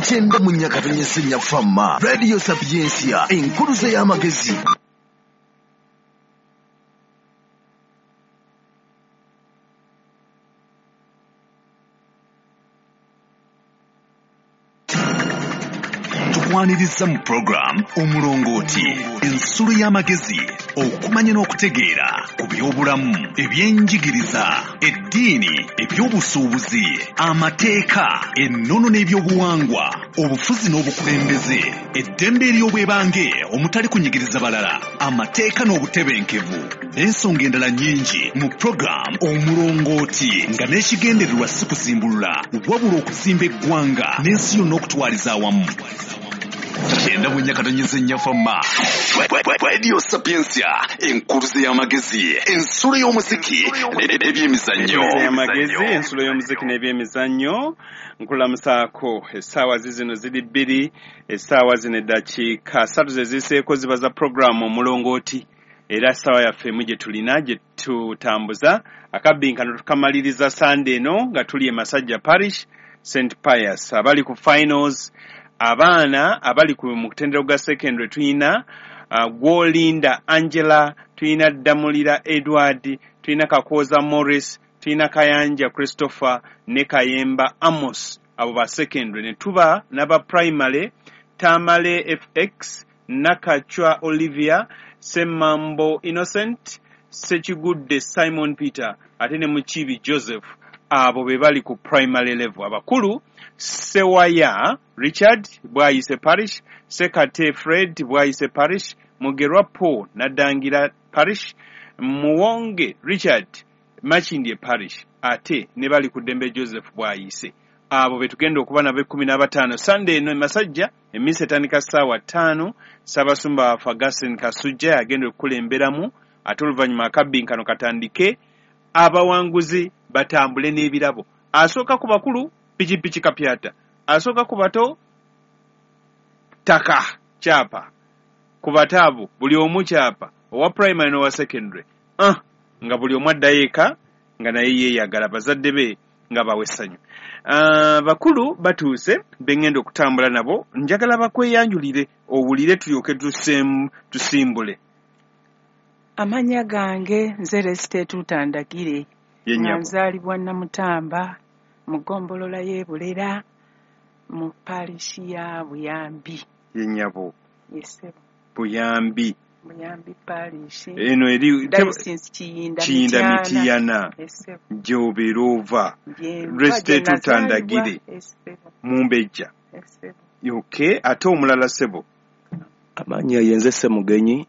Kyenda mu Nyakatonyese Nyafama Radio Sapientia, enkuluze y'amagezi. Tukwaniriza mu program Omulongooti, ensulo y'amagezi, okumanya n'okutegeera ku byobulamu, ebyenjigiriza, eddiini, ebyobusuubuzi, amateeka, ennono n'ebyobuwangwa, obufuzi n'obukulembeze, eddembe ery'obwebange omutali kunyigiriza balala, amateeka n'obutebenkevu, n'ensonga endala nnyingi mu program Omulongooti, nga n'ekigendererwa si kuzimbulula wabula okuzimba eggwanga n'ensi yonna okutwaliza awamu. 94 Nyafama Radio Sapientia, enkuluze y'amagezi, ensulo y'omuziki n'ebyemizannyo. Y'amagezi, ensulo y'omuziki n'ebyemizannyo. Nkulamusaako, essaawa zizino ziri 2, essaawa zino eddakiika 3 ze ziseeko ziba za programu Omulongooti. Era essaawa yaffe emu gye tulina gye tutambuza akabbinkano tukamaliriza Sande eno nga tuli e Masajja Parish, St Pius. Abali ku finals, abaana abali ku mutendera gwa secondary tulina Gwolinda Angela, tulina Damulira Edward, tulina Kakooza Morris, tulina Kayanja Christopher ne Kayemba Amos, abo ba secondary. Ne tuba n'aba primary Tamale FX, Nakachwa Olivia, Semmambo Innocent, Sekigudde Simon Peter, ate ne Mukibi Joseph. Abo be bali ku primary level. Abakulu Sewaya Richard Bwayise Parish, Sekate Fred Bwayise Parish, Mugerwa Paul Nadangira Parish, Muwonge Richard Makindye Parish, ate ne bali ku Ddembe Joseph Bwayise. Abo be tugenda okuba nabo 15 Sunday eno e Masajja. Emmisa etandika ssaawa 5. Ssaabasumba waffe Augustine Kasujja yagenda okukulemberamu, ate oluvannyuma akabbinkano katandike, abawanguzi batambule n'ebirabo. Asooka ku bakulu pikipiki kapyata, asooka ku bato ttaka kyapa, ku bato abo buli omu kyapa, owa primary n'owa secondary, nga buli omu addayo eka nga naye yeeyagala, bazadde be nga bawa essanyu. Bakulu batuuse be ŋŋenda okutambula nabo, njagala bakweyanjulire owulire tulyoke tusimbule. Amannya gange nze Resite Tutandagire, nga nzaalibwa Namutamba mu ggombolola y'e Bulera mu parish ya Buyambi. Ye nnyabo. Ye ssebo. Buyambi. Buyambi parish. Eno eri Diocese Kiyinda Mityana. Gy'obeera ova. Resite Tutandagire. Mumbejja. Okay, ate omulala ssebo. Amannya ye nze Ssemugenyi,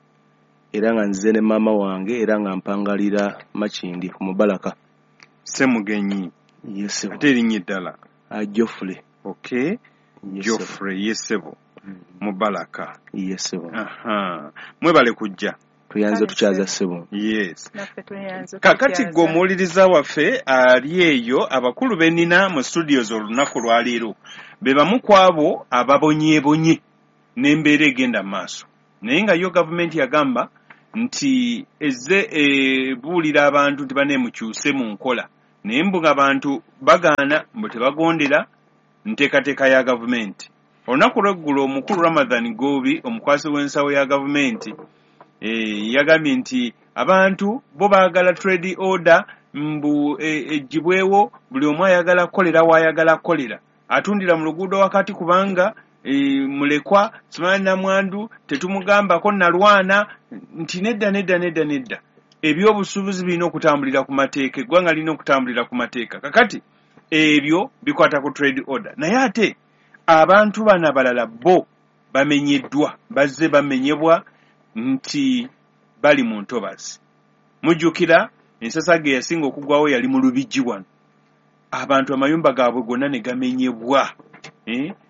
era nga nzize ne maama wange, era nga mpangalira Makindye ku Mubalaka. Ssemugenyi. Yes, ate erinnya eddala? Geoffrey. Okay. Geoffrey, yes ssebo. Mubalaka. Yes ssebo. Aha. Mwebale kujja. Tuyanze tukyaza ssebo. Yes. Kakati gwe omuwuliriza waffe ali eyo, abakulu be nnina mu studios olunaku lwaleero be bamu ku abo ababonyeebonye n'embeera egenda mu maaso. Naye nga yo gavumenti yagamba nti ezze ebuulira abantu nti baneemukyuse mu nkola, naye mbu ng'abantu bagaana mbu tebagondera nteekateeka ya gavumenti. Olunaku lw'eggulo omukulu Ramadhan Goobi, omukwasi w'ensawo ya gavumenti, yagambye nti abantu bo baagala trade order mbu eggyibwewo, buli omu ayagala kukolera w'ayagala kukolera, atundira mu luguudo wakati kubanga mulekwa simanyi namwandu tetumugambako nalwana, nti nedda nedda nedda nedda, ebyobusuubuzi birina okutambulira ku mateeka, eggwanga lirina okutambulira ku mateeka. Kakati ebyo bikwata ku trade order, naye ate abantu bano abalala bo bamenyeddwa, bazze bamenyebwa nti bali mu ntobazi. Mujjukira ensasagge yasinga okugwawo yali mu Lubigi wano, abantu amayumba gaabwe gonna ne gamenyebwa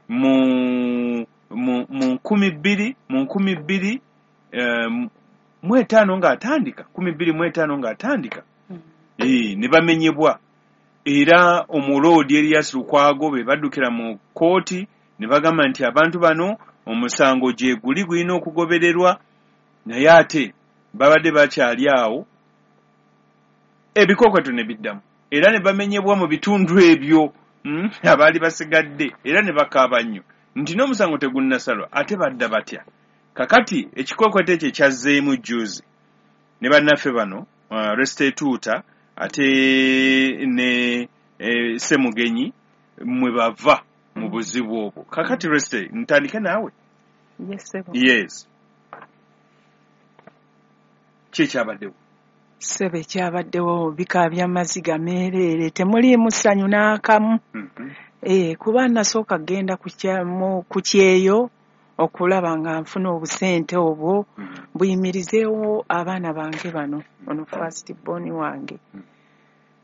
mu 2005 ng'atandika, 2005 ng'atandika, ne bamenyebwa. Era omuloodi Erias Lukwago be baddukira mu kkooti ne bagamba nti abantu bano omusango gye guli gulina okugobererwa, naye ate babadde bakyali awo ebikokweto ne biddamu, era ne bamenyebwa mu bitundu ebyo. Abaali basigadde era ne bakaaba nnyo nti n'omusango tegunnasalwa, ate badda batya? Kakati ekikwekweto ekyo ekyazzeemu jjuuzi ne bannaffe bano Restituta ate ne Ssemugenyi mwe bava mu buzibu obwo. Kakati Resite, ntandike naawe. Yes. Ki ekyabaddewo? Ssebo, ekyabaddewo bikaabya maziga meereere, temuliimu ssanyu n'akamu. Kuba nasooka kgenda ku kyeyo okulaba nga nfuna obusente obwo buyimirizeewo abaana bange bano, ono first born wange.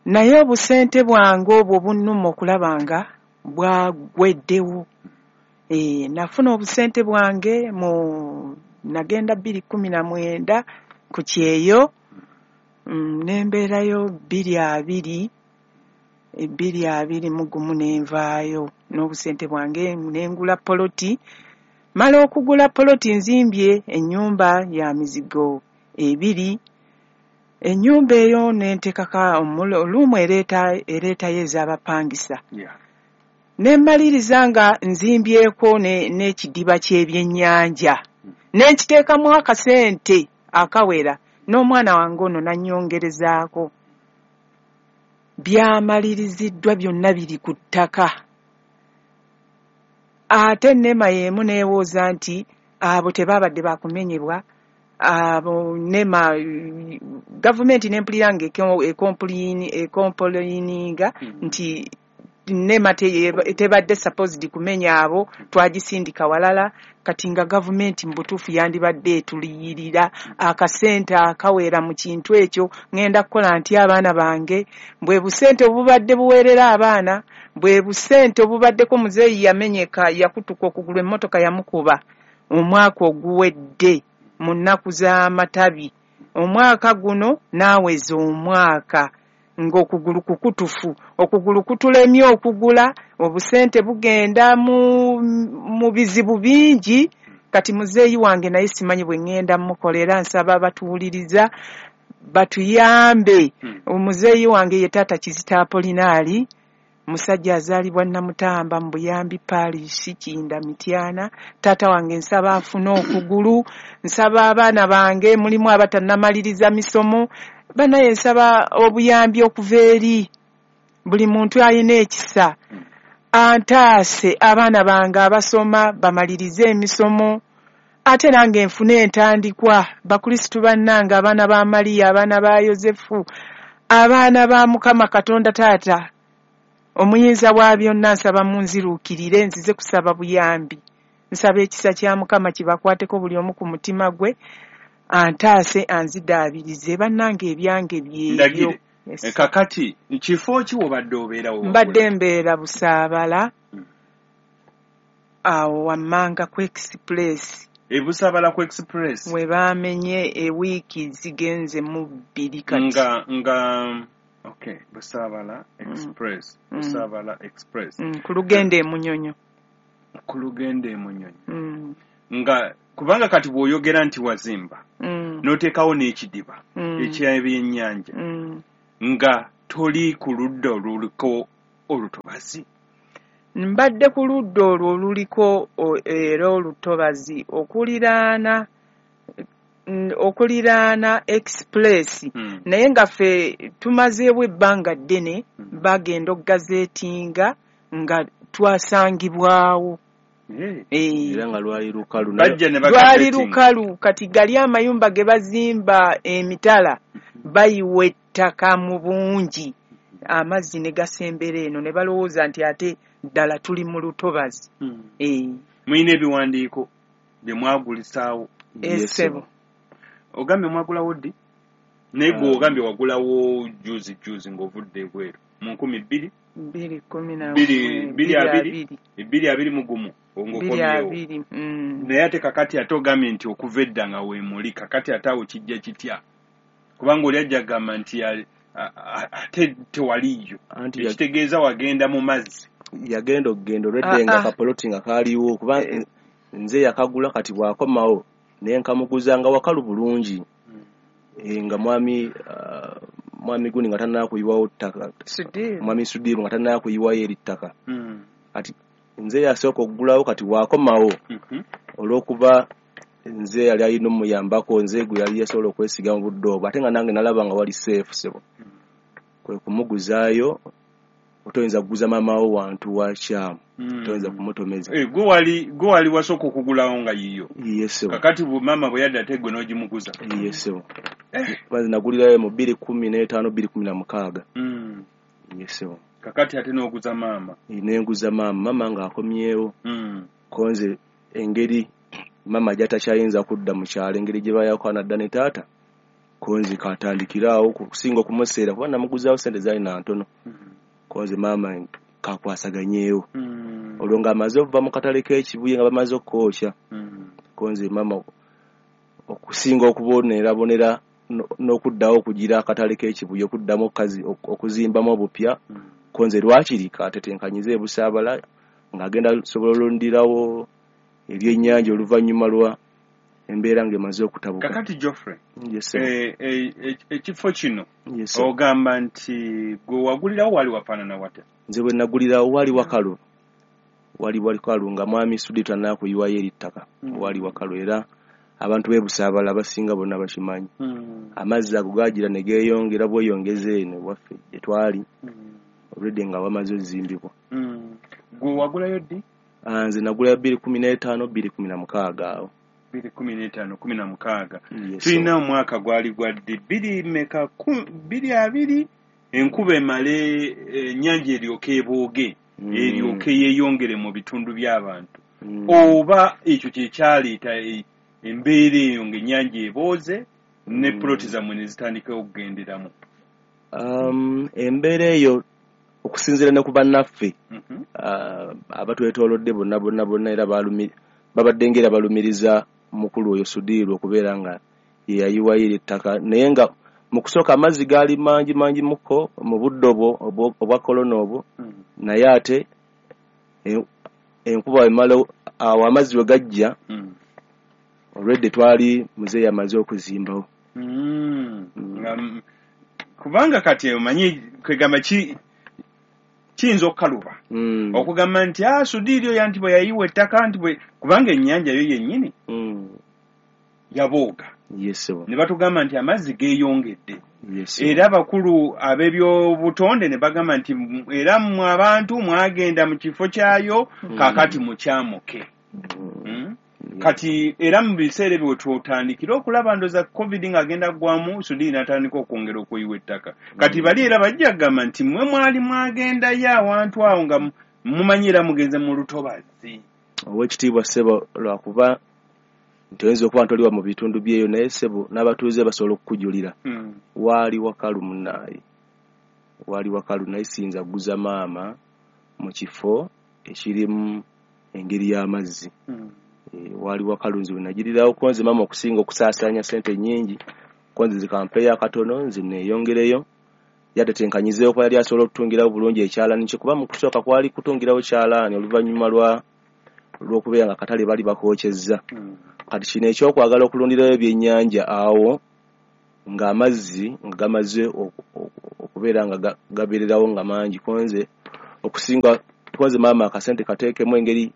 Naye obusente bwange obwo bunnuma okulaba nga bwagweddewo. Nafuna obusente bwange mu nagenda 2019 ku kyeyo, nembeerayo 2020 2021 nenvaayo n'obusente bwange nengula poloti. Mala okugula poloti nzimbye ennyumba ya mizigo 2. Ennyumba eyo nentekaka olumu ereetayo ez'abapangisa. Ne mmaliriza nga nzimbyeko n'ekidiba ky'ebyennyanja. Ne nkiteekamu akasente akawera n'omwana wange ono nannyongerezaako. Byamaliriziddwa byonna biri ku ttaka. Ate NEMA y'emu neewooza nti abo tebaabadde bakumenyebwa, abo NEMA gavumenti nempulira nga ekompoliininga nti NEMA tebadde supposed kumenya abo, twagisindika walala. Kati nga gavumenti mu butuufu yandibadde etuliyirira akasente akawera mu kintu ekyo. Ŋŋenda kukola nti abaana bange bwe busente obubadde buweerera abaana, bwe busente obubaddeko muzeeyi yamenyeka, yakutuka okugulu, emmotoka yamukuba omwaka oguwedde mu nnaku z'amatabi. Omwaka guno naaweza omwaka ng'okugulu kukutufu, okugulu kutulemye okugula, obusente bugenda mu bizibu bingi. Kati muzeeyi wange naye simanyi bwe ŋŋenda mukolera, nsaba batuwuliriza batuyambe. Omuzeeyi wange ye taata Kizito Apolinaali, musajja azaalibwa Namutamba mu Buyambi Parish, Kinda Mityana. Taata wange nsaba afune okugulu, nsaba abaana bange mulimu abatannamaliriza misomo, banaye nsaba obuyambi okuva eri buli muntu alina ekisa antaase abaana bange abasoma bamalirize emisomo, ate nange nfune entandikwa. Bakristu bannange, abaana ba Mariya, abaana ba Yosefu, abaana ba Mukama Katonda Taata omuyinza wa byonna, nsaba munziruukirire nzize kusaba buyambi. Nsaba ekisa kya Mukama kibakwateko buli omu ku mutima gwe, antaase anzidaabirize. Bannange ebyange byebyo. Kakati kifo ki wobadde obeerawo? Mbadde mbeera Busaabala awo wammanga ku Express. Busaabala ku Express we baamenye ewiiki zigenze mu 2 kati. Nga okay, Busaabala Express, Busaabala Express. Ku lugendo e Munyonyo. Ku lugendo e Munyonyo. Nga kubanga kati bw'oyogera nti wazimba n'oteekawo n'ekidiba eky'ebyennyanja nga toli ku ludda oluliko olutobazi. Mbadde ku ludda olwo oluliko era olutobazi okuliraana Express. Naye nga ffe tumazeewo ebbanga ddene, bagenda okugazeetinga nga twasangibwawo. Era nga lwali lukalu. Lwali lukalu. Kati gali amayumba ge bazimba emitala bayiwa ettaka mu bungi, amazzi ne gasembera eno ne balowooza nti ate ddala tuli mu lutobazi. Mulina ebiwandiiko bye mwagulisaawo? Ssebo. Ogambye mwagulawo ddi? Naye gwe ogambye wagulawo juzi juzi ng'ovudde ebweru mu 2021 ng'okomyewo. Naye ate kakati ate ogambye nti okuva edda nga weemuli, kakati ate awo kijja kitya? Kubanga oli ajja kugamba nti ate tewaliyo, ekitegeeza wagenda mu mazzi. Yagenda okugenda olwedde nga kapoloti nga kaaliwo, kuba nze yakagula. Kati bw'akomawo naye nkamuguza nga wakalu bulungi. Nga Mwami gundi nga tannakuyiwawo ttaka, Mwami Sudiru nga tannakuyiwayo eri ttaka. Kati nze yasooka okugulawo, kati waakomawo olw'okuba nze yali alina omuyambako, nze gwe yali yasobola okwesiga mu budde obwo, ate nga nange nalaba nga wali safe ssebo, kwe kumuguzaayo. Otoyinza kuguza maama wo wantu wakyamu, toyinza kumutomeza. Gwe wali wasooka okugulawo nga yiyo? Yes ssebo. Kakati maama bwe yadda ate gwe n'ogimuguza? Yes ssebo. Kwanza nagulirayo mu 2015 2016. Yes ssebo. Kakati ate n'oguza maama? Nenguza maama, maama ng'akomyewo. Konze engeri maama gy'atakyayinza kudda mu kyalo, engeri gye bayawukana dda ne taata, konze katandikiraawo kusinga okumuseera, kuba namuguzaawo ssente zaali na ntono. Konze maama kakwasaganyeewo. Olwo ng'amaze okuva mu katale k'Ekibuye nga bamaze okukookya. Konze maama okusinga okubonerabonera n'okuddawo okugira akatale k'Ekibuye okuddamu okuzimbamu obupya, konze lwakiri katetenkanyize ebusaabala ng'agenda sobola olundirawo ebyennyanja oluvannyuma lwa embeera ng'emaze okutabuka. Kakati Geoffrey, ekifo kino ogamba nti gwe wagulirawo wali wafaanana watya? Nze bwe nagulirawo wali wakalu, wali wakalu nga Mwami Sudi tannakuyiwayo eri ttaka, wali wakalu era abantu b'e Busaabala abasinga bonna bakimanyi. Amazzi ago gaagira ne geeyongera bweyongeza eno ewaffe gye twali, olwedde nga wamaze ozimbibwa. Gwe wagulayo ddi? Nze nagulayo 2015 2016 awo. 2015 16. Tulina omwaka gwali gwa ddi? 2020 enkuba emale ennyanja eryoke ebooge, eryoke yeeyongere mu bitundu by'abantu. Oba ekyo kye kyaleeta embeera eyo ng'ennyanja ebooze ne puloti zammwe ne zitandikawo okugenderamu? Embeera eyo okusinziira ne ku bannaffe abatwetoolodde bonna bonna bonna, era babadde ng'era balumiriza mukulu oyo Sudiru okubeera nga ye yayiwayo eri ettaka, naye nga mu kusooka amazzi gaali mangi mangi muko mu budde obwo obwa kolona obwo, naye ate enkuba emala awo amazzi we gajja, olwedde twali muzeeyi amaze okuzimbawo. Kubanga kati omanyi kwegamba kiyinza okukaluba okugamba nti Sudiiri oyo nti bwe yayiwa ettaka nti bwe, kubanga ennyanja yo yennyini yabooga. Ne batugamba nti amazzi geeyongedde. Era abakulu ab'ebyobutonde ne bagamba nti era mmwe abantu mwagenda mu kifo kyayo, kaakati mukyamuke. Kati era mu biseera ebyo wetutandikira okulaba ndoza COVID ng'agenda ggwamu, Sudiiri n'atandika okwongera okuyiwa ettaka. Kati bali era bajja kugamba nti mmwe mwali mwagendayo awantu awo nga mumanyi era mugenze mu lutobazi. Oweekitiibwa ssebo, lwakuba nti oyinza okuba nti oliwa mu bitundu byeyo, naye ssebo n'abatuuze basobola okukujulira. Waali wakalu munnaaye, waali wakalu, naye siyinza kuguza maama mu kifo ekirimu engeri y'amazzi. Waali wakalu nze bwe nagirirawo, konze maama okusinga okusaasaanya ssente nnyingi, konze zikampeeyo akatono nze neeyongereyo, yatetenkanyizeewo kuba yali asobola okutungirawo bulungi ekyalaani kye, kuba mu kusooka kwali kutungirawo kyalaani oluvannyuma lw'okubeera nga akatale bali bakookyezza. Kati kino ekyokwagala okulundirayo ebyennyanja awo ng'amazzi nga gamaze okubeera nga gabeererawo nga mangi, konze okusinga konze maama akasente kateekemu engeri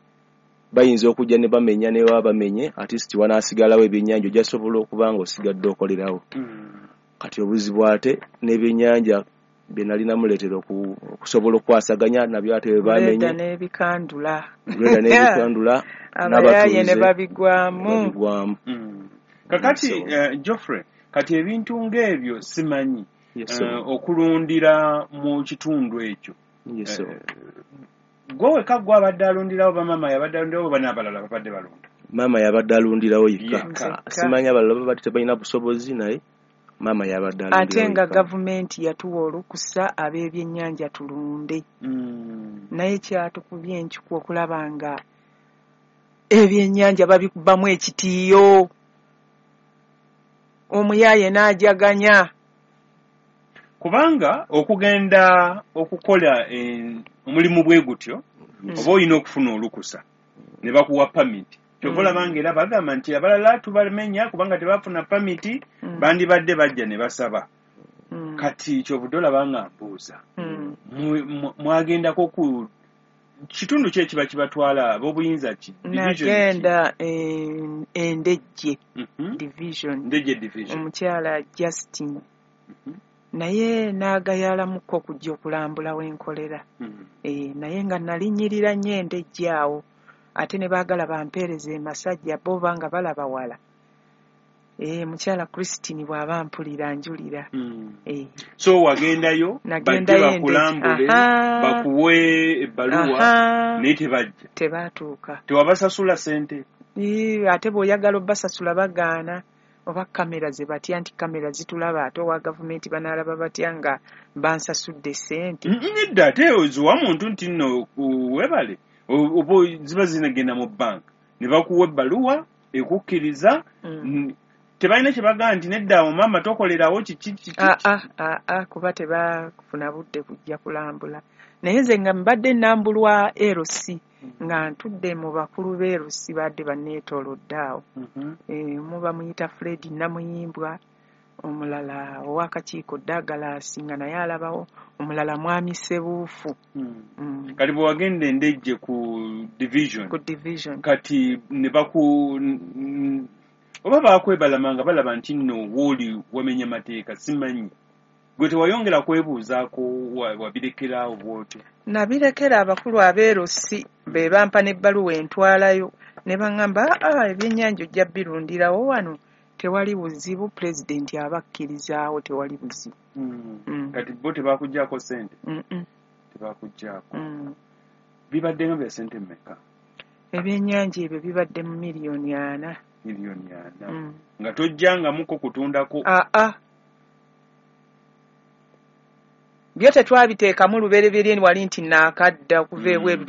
bayinza okujja ne bamenya ne baba bamenye, at least wanaasigalawo ebyennyanja ojja sobola okuba nga osigadde okolerawo. Kati obuzibu ate n'ebyennyanja bye nali namuleetera okusobola okukwasaganya nabyo ate bwe bamenye. Lweda n'ebikandula. Lweda n'ebikandula, abayaaye ne babigwamu. Kakati Geoffrey, kati ebintu ng'ebyo simanyi okulundira mu kitundu ekyo. Gwe wekka gwe abadde alundirawo, bamaama yabadde alundirawo, oba n'abalala babadde balunda? Maama yabadde alundirawo yekka. Simanyi abalala babadde tebalina busobozi, naye maama yabadde alundirawo. Ate nga gavumenti yatuwa olukusa ab'ebyennyanja tulunde. Naye kyatukubye enkiku okulaba nga ebyennyanja babikubamu ekitiiyo, omuyaaye n'ajaganya. Kubanga okugenda okukola omulimu bwe gutyo, oba olina okufuna olukusa ne bakuwa pamiti. Kyova olaba ng'era bagamba nti abalala tubamenya kubanga tebafuna pamiti, bandibadde bajja ne basaba. Kati kyovudde olaba nga mbuuza, mwagendako ku kitundu ki ekiba kibatwala ab'obuyinza ki? Nagenda Endejje division. Ndejje division. Omukyala Justin. Naye n'agayalamuko okujja okulambula wenkolera. Naye nga nalinyirira nnyo Endejje awo, ate ne baagala bampeereze Masajja, bo banga balaba wala. Mukyala Christine bw'aba mpulira njulira. So wagendayo bajje bakulambule, bakuwe ebbaluwa, naye tebajja. Tebatuuka. Tewabasasula ssente? Ate bw'oyagala obbasasula bagaana, oba kamera ze batya nti kamera zitulaba, ate owa gavumenti banaalaba batya nga bansasudde ssente. Nedda, ate oziwa muntu nti nno weebale, oba ziba zinagenda mu banka ne bakuwa ebbaluwa ekukkiriza. Tebalina kye bagamba nti nedda awo maama tokolerawo kiki kiki? Kuba tebafuna budde kujja kulambula. Naye nze nga mbadde nnambulwa LC, nga ntudde mu bakulu b'e LC badde banneetoolodde awo. Omu bamuyita Fred Namuyimbwa, omulala ow'akakiiko Douglas nga naye alabawo, omulala Mwami Ssebuufu. Kati bwe wagenda Endejje ku division, ku division, kati ne baku oba baakwebalama nga balaba nti nno wooli wamenya mateeka, simanyi. Gwe tewayongera kwebuuzaako, wabirekeraawo bw'otyo? Nabirekera abakulu ab'erosi be bampa n'ebbaluwa entwalayo, ne baŋŋamba ebyennyanja ojja birundirawo wano, tewali buzibu, pulezidenti abakkirizaawo, tewali buzibu. Kati bo tebaakuggyako ssente? Tebaakuggyako. Bibadde nga bya ssente mmeka? Ebyennyanja ebyo bibadde mu 4,000,000. 4,000,000. Nga tojjangamuko kutundako? Byo tetwabiteekamu lubereberye wali nti naakadda okuva ebweru.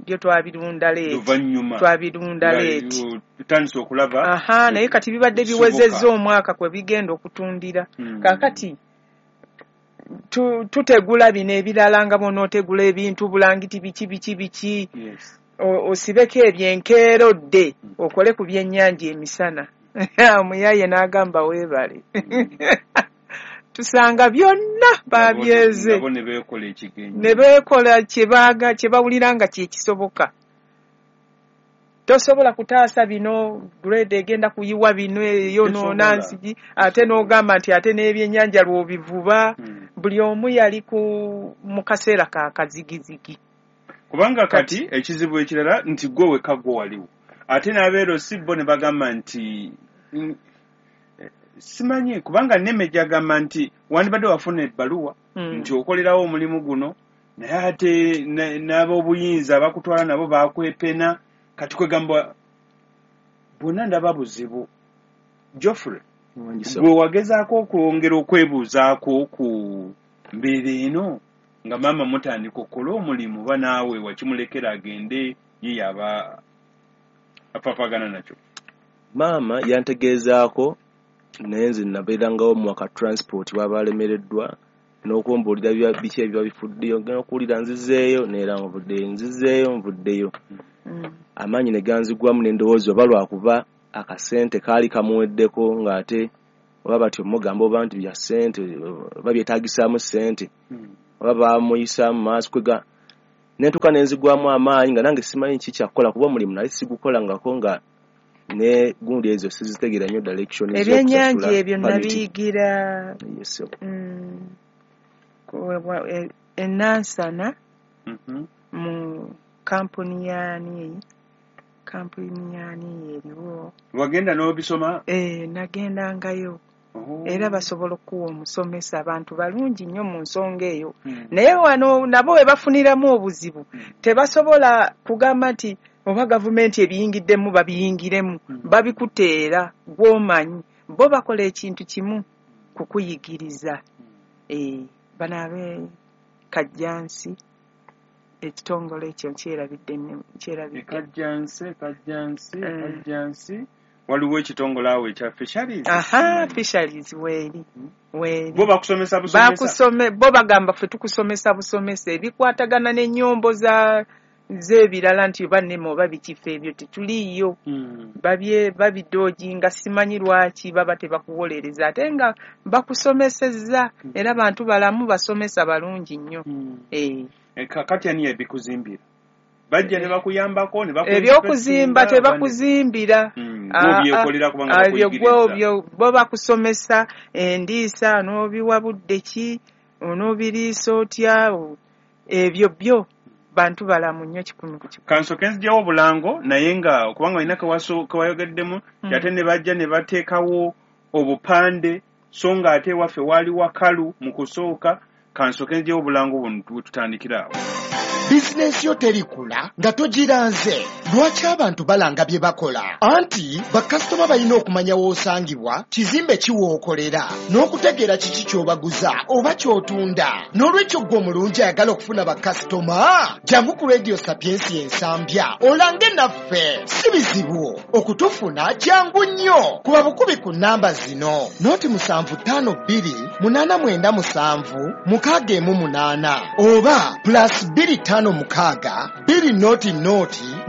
Byo twabirunda leeti. Twabirunda leeti. Tutandise okulaba. Naye kati bibadde biwezezza omwaka kwe bigenda okutundira. Kaakati tutegula bino ebirala nga bw'onootegula ebintu bulangiti biki biki biki. Osibeko ebyenkeerodde okole ku byennyanja emisana. Omuyaye n'agamba weebale. Tusanga byonna babyeze. Nabo ne beekola ekigenyi. Ne beekola kye bawulira nga kye kisoboka. Tosobola kutaasa bino, grade egenda kuyiwa bino eyonoona nsigi, ate n'ogamba nti ate n'ebyennyanja lw'obivuba. Buli omu yali mu kaseera ka kazigizigi. Kubanga kati ekizibu ekirala nti gwe wekka gwe waliwo, ate n'abeero si bo ne bagamba nti simanyi, kubanga Neme gyagamba nti wandibadde wafuna ebbaluwa nti okolerawo omulimu guno, naye ate n'ab'obuyinza bakutwala nabo bakwepena. Kati kwegamba bonna ndaba buzibu. Geoffrey, gwe wagezaako okwongera okwebuuzaako ku mbeera eno nga maama mutandika okukola omulimu, oba naawe wakimulekera agende ye yaba apaapagana nakyo? Maama yantegeezaako, naye nze nabeerangawo mu waka transport bw'aba alemereddwa n'okumbuulira biki ebiba bifuddeyo, ngenda okuwulira nzizeeyo neera nvuddeyo, nzizeeyo nvuddeyo. Amaanyi ne ganzigwamu ne ndowooza oba lwakuba akasente kaali kamuweddeko, ng'ate oba batyo mugamba oba nti bya ssente oba byetaagisaamu ssente oba baamuyisaamu maaso, kwega ne ntuuka ne nzigwamu amaanyi nga nange simanyi ki kyakukola, kuba omulimu nali sigukolangako nga ne gundi ezo sizitegeera nnyo direction. Ebyennyanja ebyo nabiyigira Enansana mu kampuni yaani, kampuni yaani eriwo. Wagenda n'obisoma? Nagendangayo. Era basobola okuwa omusomesa, abantu balungi nnyo mu nsonga eyo. Naye wano nabo we bafuniramu obuzibu, tebasobola kugamba nti oba gavumenti ebiyingiddemu babiyingiremu, babikuteera gw'omanyi. Bo bakola ekintu kimu, kukuyigiriza. Bano ab'e Kajjansi, ekitongole ekyo nkyerabidde. Kajjansi. Waliwo ekitongole awo ekya Fisheries. Fisheries weeri. Bo bakusomesa busomesa? Bo bagamba ffe tukusomesa busomesa ebikwatagana n'ennyombo za Nze ebirala nti oba NEMA oba bikifo ebyo tetuliiyo. Babidooginga, simanyi lwaki baba tebakuwolereza ate nga bakusomesezza, era bantu balamu basomesa balungi nnyo. Kakati ani yabikuzimbira? Bajja ne bakuyambako ne ebyokuzimba tebakuzimbira. Ebyo bo bakusomesa endiisa, n'obiwa budde ki, onoobiriisa otya, ebyo byo bantu balamu nnyo 100 ku 100. Kansooke nziggyewo obulango, naye nga kubanga olina kewayogeddemu, ate ne bajja ne bateekawo obupande, so nga ate ewaffe waali wakalu mu kusooka. Kansooke nziggyewo obulango buno tutandikire awo. Bizinensi yo terikula nga togiranze. Lwaki abantu balanga bye bakola? Anti bakasitoma balina okumanya w'osangibwa, kizimbe ki w'okolera, n'okutegeera kiki ky'obaguza oba ky'otunda. N'olwekyo ggwe omulungi ayagala okufuna bakasitoma, jangu ku Radio Sapiensia Ensambya olange naffe. Si bizibu okutufuna, jangu nnyo. Kuba bukubi ku nnamba zino: 0752 897 618 oba +256 200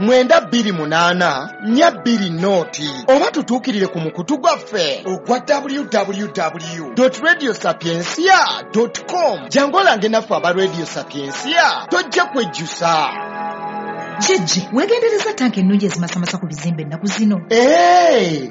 928 420, oba tutuukirire ku mukutu gwaffe ogwa www.radiosapiencia.com. Jangu olange naffe aba Radio Sapiensia, tojja kwejjusa. Jjajja, weegendereza tanka ennungi ezimasamasa ku bizimbe ennaku zino.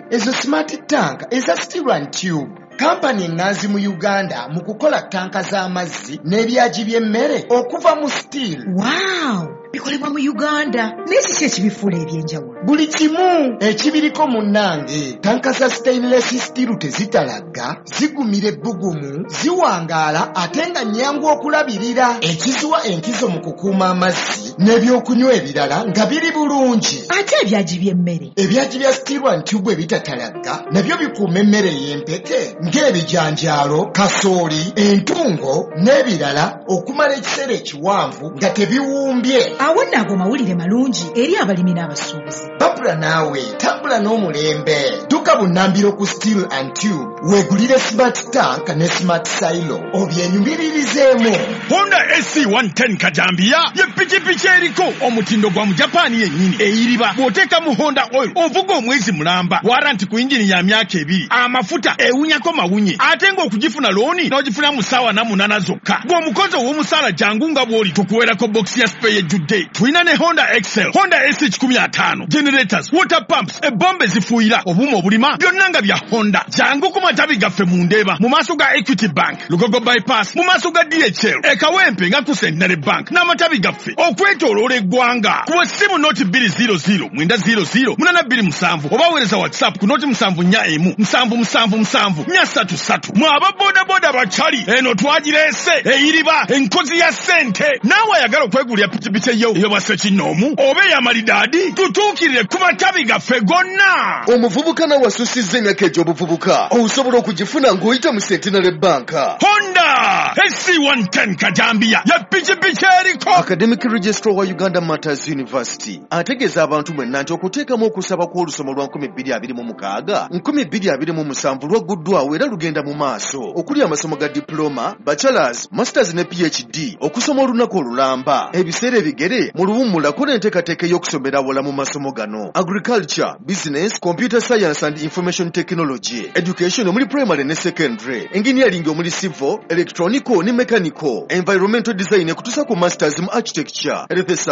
Ezo smart tank eza Steel and Tube, kampani eŋŋanzi mu Uganda mu kukola tanka z'amazzi n'ebyagi by'emmere okuva mu steel. Wow, bikolebwa mu Uganda. Naye kiki ekibifuula eby'enjawulo? Buli kimu ekibiriko munnange. Tanka za stainless steel tezitalagga, zigumira ebbugumu, ziwangaala ate nga nnyangu okulabirira, ekiziwa enkizo mu kukuuma amazzi n'ebyokunywa ebirala nga biri bulungi. Ate ebyagi by'emmere? Ebyagi bya Steel and Tube ebitatalagga nabyo bikuuma emmere ey'empeke ng'ebijanjaalo, kasooli, entungo n'ebirala okumala ekiseera ekiwanvu nga tebiwumbye. Awo nno ago mawulire malungi eri abalimi n'abasuubuzi. Babula naawe tambula n'omulembe. Dduka bunnambiro ku Steel and Tube weegulire smart tank ne smart silo obyenyumiririzeemu. Honda AC 110 Kajambiya ye pikipiki eriko omutindo gwa Mujapaani yennyini, eyiriba bw'oteeka mu Honda oil ovuga omwezi mulamba, waranti ku yingini ya myaka 2, amafuta ewunyako mawunye, ate ng'okugifuna looni n'ogifuna mu ssaawa 8 zokka. Gw'omukozi ow'omusaala jangu nga bw'oli, tukuweerako bokisi ya spare ejjudde. Tulina ne Honda Excel, Honda AC 150, generators, water pumps, ebombe zifuuyira, obuuma obulima, byonna nga bya Honda. Jangu ku matabi gaffe mu Ndeeba, mu maaso ga Equity Bank, Lugogo Bypass, mu maaso ga DHL, e Kawempe nga ku Centenary Bank, n'amatabi gaffe okwetooloola eggwanga. Kuba essimu 0200 900 827 oba weereza WhatsApp ku 0741 777 433. Mwe aba bodaboda bakyali, eno twagireese eyiriba enkozi ya ssente. Naawe ayagala okwegulira pikipiki eyo ey'obwassekinnoomu oba ey'amalidaadi, tutuukirire ku matabi gaffe gonna. Omuvubuka nawe asusizza emyaka egy'obuvubuka osobola okugifuna ng'oyita mu Centenary Bank. Honda AC 110 Kajambiya ye pikipiki eriko. Academic Registrar wa Uganda Martyrs University ategeeza abantu mwenna nti okuteekamu okusaba kw'olusoma lwa 2026 2027 lwagguddwawo era lugenda mu maaso, okuli amasomo ga diploma, bachelors, masters ne PhD, okusoma olunaku olulamba, ebiseera ebigere mu luwummula n'enteekateeka ey'okusomera awala mu masomo gano: agriculture, business, computer science and information technology, education omuli primary ne secondary, engineering omuli civil, electronical ne mechanical, environmental design ekutuusa ku masters mu architecture, health.